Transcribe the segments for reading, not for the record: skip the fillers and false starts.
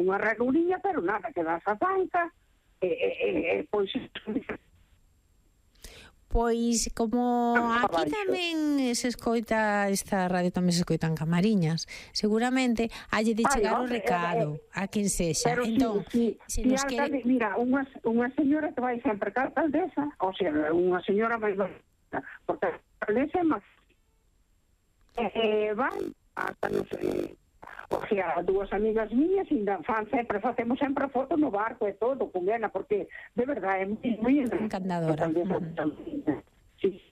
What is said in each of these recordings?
unha ranuriña, pero nada, que das a tanca, pois... Pois, como aquí tamén se escoita esta radio, tamén se escoitan Camariñas, seguramente halle de chegar o recado a quen sexa. Pero entón, se nos quere... Mira, unha señora que vai sempre ca alcaldesa, ou sea, unha señora máis bonita, porque a alcaldesa é máis... van hasta, non sei... O sea, dúas amigas miñas facemos sempre foto no barco e todo con ela, porque de verdade é moi encantadora. Sí.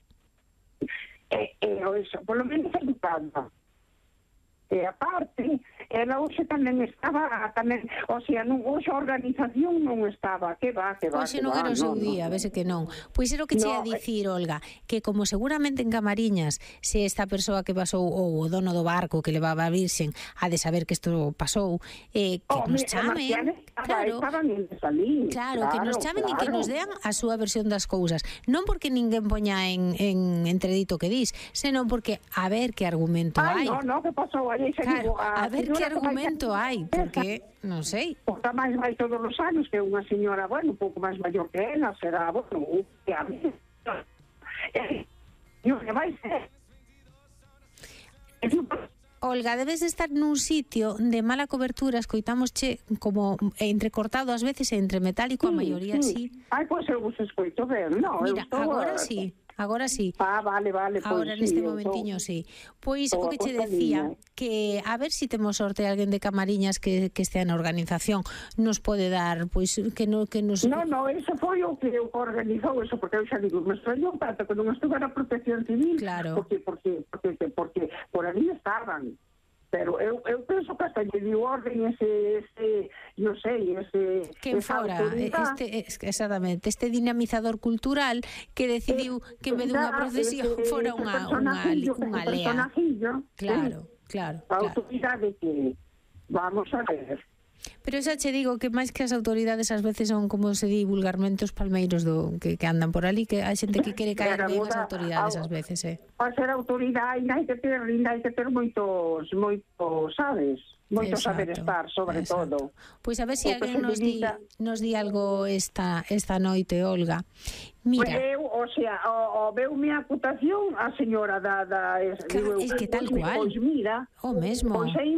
Eso, por lo menos educada. E aparte, ela hoxe tamén estaba, o sea, hoxe a organización non estaba, que va. Hoxe non era o seu día, vese que non. Pois era o que che ia dicir, Olga, que como seguramente en Camariñas, se esta persoa que pasou, ou o dono do barco que levaba a Virxen, ha de saber que isto pasou, que nos chamen, claro, que nos chamen e que nos dean a súa versión das cousas. Non porque ninguén poña en entredito que dis, senón porque a ver que argumento hai. No, que pasou? Claro, a ver que argumento hai, porque, non sei. Porque máis vai todos os anos, que unha señora, bueno, un pouco máis maior que ela, será, bueno, que a mí... que vai ser... Olga, debes estar nun sitio de mala cobertura, escoitamosche como entrecortado ás veces e entre metálico, a maioría sí. Ai, pois eu vos escoito ben, non? Mira, agora sí. Agora sí. Vale. Agora neste momentiño sí. Pois o que che decía, que a ver si temos sorte alguén de Camariñas que estea na organización, nos pode dar, pois que nos... No, eso foi o que organizou eso, porque eu xa digo, me extrañou tanto que non estuve na Protección Civil, claro. porque por ali estaban. Pero eu penso que hasta lle dio orden non sei, quen fora, exactamente, este dinamizador cultural que decidiu que en vez dunha procesión fora unha lea. Claro. A autoridade que vamos a ver. Pero xa che digo que máis que as autoridades ás veces son, como se di vulgarmente, os palmeiros que andan por ali, que hai xente que quere caer ben as autoridades ás veces, Para ser autoridade hai que ter moitos, sabes? Moito saber estar, sobre todo. Pois a ver se alguén nos di algo esta noite, Olga. Mira, eu, o sea, veu minha acutación a señora es que tal cual. Pois mira, o mesmo. Pois aí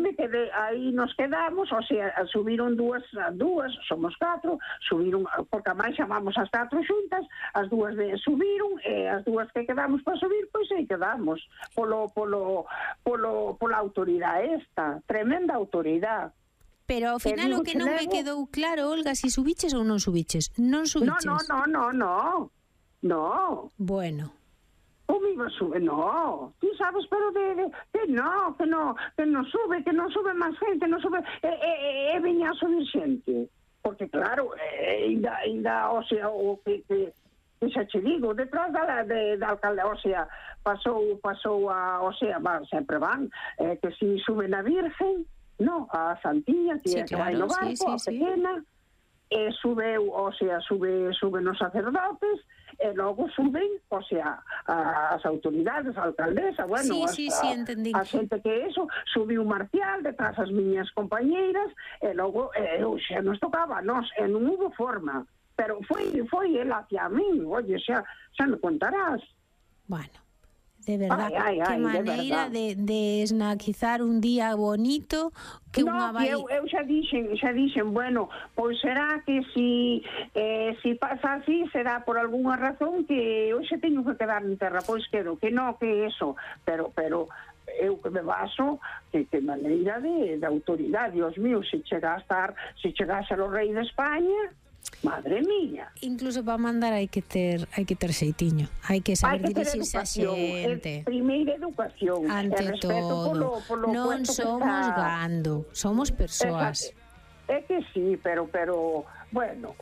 nos quedamos, o sea, subiron dúas, somos 4, subiron, porque a máis chamamos as 4 xuntas, as dúas subiron, e as dúas que quedamos para subir, pois aí quedamos, pola autoridade esta, tremenda autoridade. Pero ao final o que non me quedou claro, Olga, si subiches ou non subiches. Non subiches. No. Bueno. Como iba a subir? No. Tú sabes, pero que non sube máis gente, non sube, veña a subir xente. Porque claro, ainda, o sea, o que xa che digo, detrás da alcalde, o sea, pasou o sea, sempre van, que si suben a Virgen, no, a Santiña, que vai no barco, a pequena, subeu, o sea, suben os sacerdotes, e logo suben, o sea, as autoridades, a alcaldesa, bueno, a xente que subiu Marcial detrás as miñas compañeiras, e logo xa nos tocaba a nos, e non hubo forma, pero foi el hacia min, oye, xa me contarás. Bueno, de verdad, que maneira de esnaquizar un día bonito que unha vai... eu xa dixen, bueno, pois será que si pasa así, será por algunha razón que hoxe teño que quedar en terra, pois quedo, que non, que eso, pero eu que me baso que maneira de autoridade, Dios mío, se chegase o rei de España, madre mía. Incluso para mandar hai que ter xeitiño, hai que saber dirixirse a xente. Primeira educación, ante todo. Non somos gando, somos persoas. É que sí, pero bueno,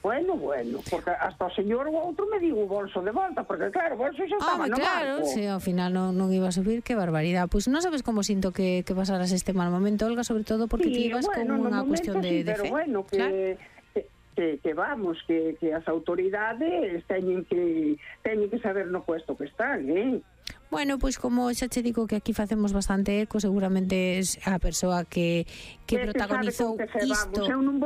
porque hasta o señor o outro me digo o bolso de volta, porque claro, o bolso xa estaba no barco. Claro, se ao final non iba a subir, que barbaridade. Pois non sabes como sinto que pasaras este mal momento, Olga, sobre todo porque ti ibas con unha cuestión de fe. Pero bueno, que vamos, que as autoridades teñen que saber no puesto que están, Bueno, pois como xa che digo que aquí facemos bastante eco, seguramente é a persoa que protagonizou isto. Eu non